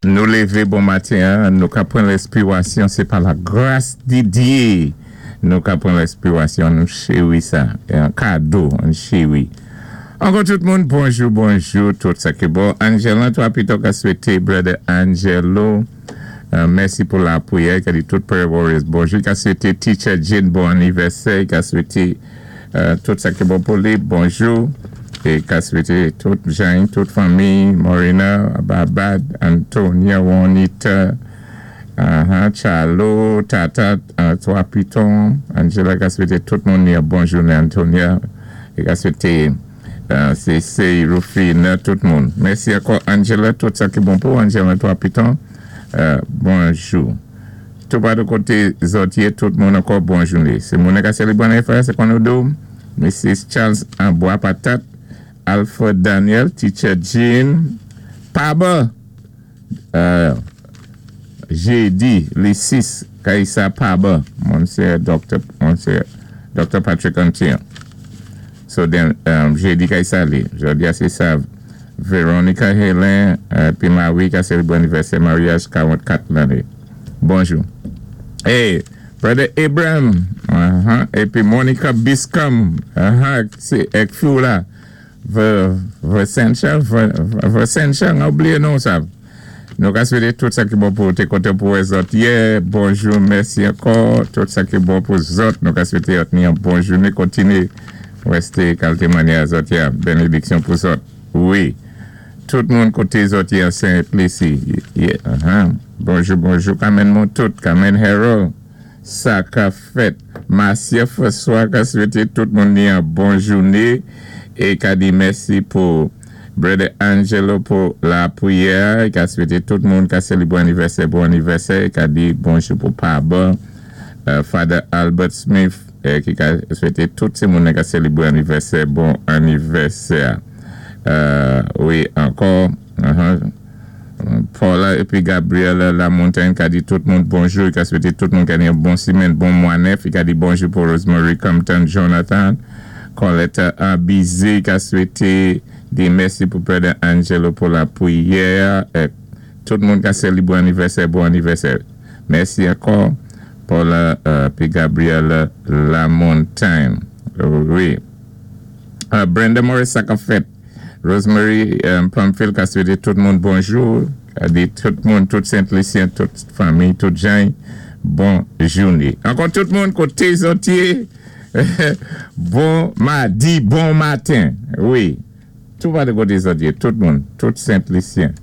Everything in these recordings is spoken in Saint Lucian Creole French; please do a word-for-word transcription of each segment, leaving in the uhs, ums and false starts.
Nou lévé bon matin, nou ka pran lèspirasyon, sé pa la gras di Dyé. Nou ka pran lèspirasyon, nou chéwi sa. Yon kado, an chéwi. Ankò tout moun, bonjou, bonjou, tout sa ki bon. Angela, twa pito ka swété, brother Angelo. Euh, mèsi pou lapriyè, ka di tout prayer warriors bonjou. Ka swété teacher Jane bon anivèsè, ka swété euh, tout sa ki bon pou li, bonjou. É ka swété tout jan, tout fanmi, Morena, Babad, Antonia, Juanita, uh-huh, Charlo, Tata, uh, Twa Piton, Angela ka swété tout moun yon bon jounen, Antonia, é ka swété uh, C C, Rufina, tout moun. Mèsi ankò, Angela, tout sa ki bon pou Angela, Twa Piton, uh, bonjou. Tout pa de koté zòt yé, tout moun ankò bon jounen. Sé moun ka sélébré anivèsè, sé kon nou do, Missus Charles Bois Patate, Alfred Daniel, Teacher Jean, Paba, euh, jédi, lé sis, Kaisa Paba, Monsye Doctor Monsye Doctor Patrick Antion. So then, um, jédi Kaisa li, jodi a sé sa, Veronica Helen, euh, pi Marie ka sélébré anivèsè maryaj karanntkat lanné. Bonjou. Hey, Brother Abraham, uh-huh, épi Monica Biscom, uh-huh, sé èk fi la. Versencha, Versencha, an oubliyé non sa. Nou ka swété tout sa ki bon pou té kontan pou wè zòt yè. Bonjou, mèsi ankò. Tout sa ki bon pou zòt. Nou ka swété ni yon bon jounen. Kontiné résté kalité mannyè zòt yé. Bénédiksyon pou zòt. Wi. Tout moun koté zòt yé an Saint-Lucie. Uh-huh. Bonjou, bonjou. Kamen moun tout. Kamen Harold. Sa ka fèt. Marcia François ka swété tout moun ni yon bon jounen. É ka di mèsi pou Brother Angelo pou lapriyè. Ka swété tout moun ka sélébré anivèsè, bon anivèsè. Ka di bonjou pou Paba, uh, Father Albert Smith, eh, ki ka swété tout sé moun ka sélébré anivèsè, bon anivèsè. Uh, wi, ankò, uh-huh. Paula épi Gabriel La Montagne ka di tout moun bonjou, ka swété tout moun ka di bon simèn, bon mwa nèf, ka di bonjou pou Rosemary Compton Jonathan, Coletta Abizé ka swété di mèsi pou Brother Angelo pou lapriyè, tout moun ka sélébré anivèsè, bon anivèsè. Mèsi ankò, Paula pi Gabriel La Montagne. Wi. Brenda Morris sa ka fèt. Rosemary Plumfield ka swété tout moun bonjou, ka di tout moun, tout Saint-Lucien, tout fanmi, tout jan, bon jounen. Ankò tout moun koté zòt yé, bon madi, bon maten. Wi, tout pa de koté zòt yé, tout moun, tout Saint-Lucien,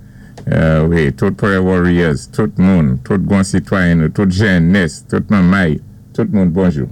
wi, tout prayer warriors, tout moun, tout gwan sitwayen, tout jènès, tout manmay, tout moun bonjou.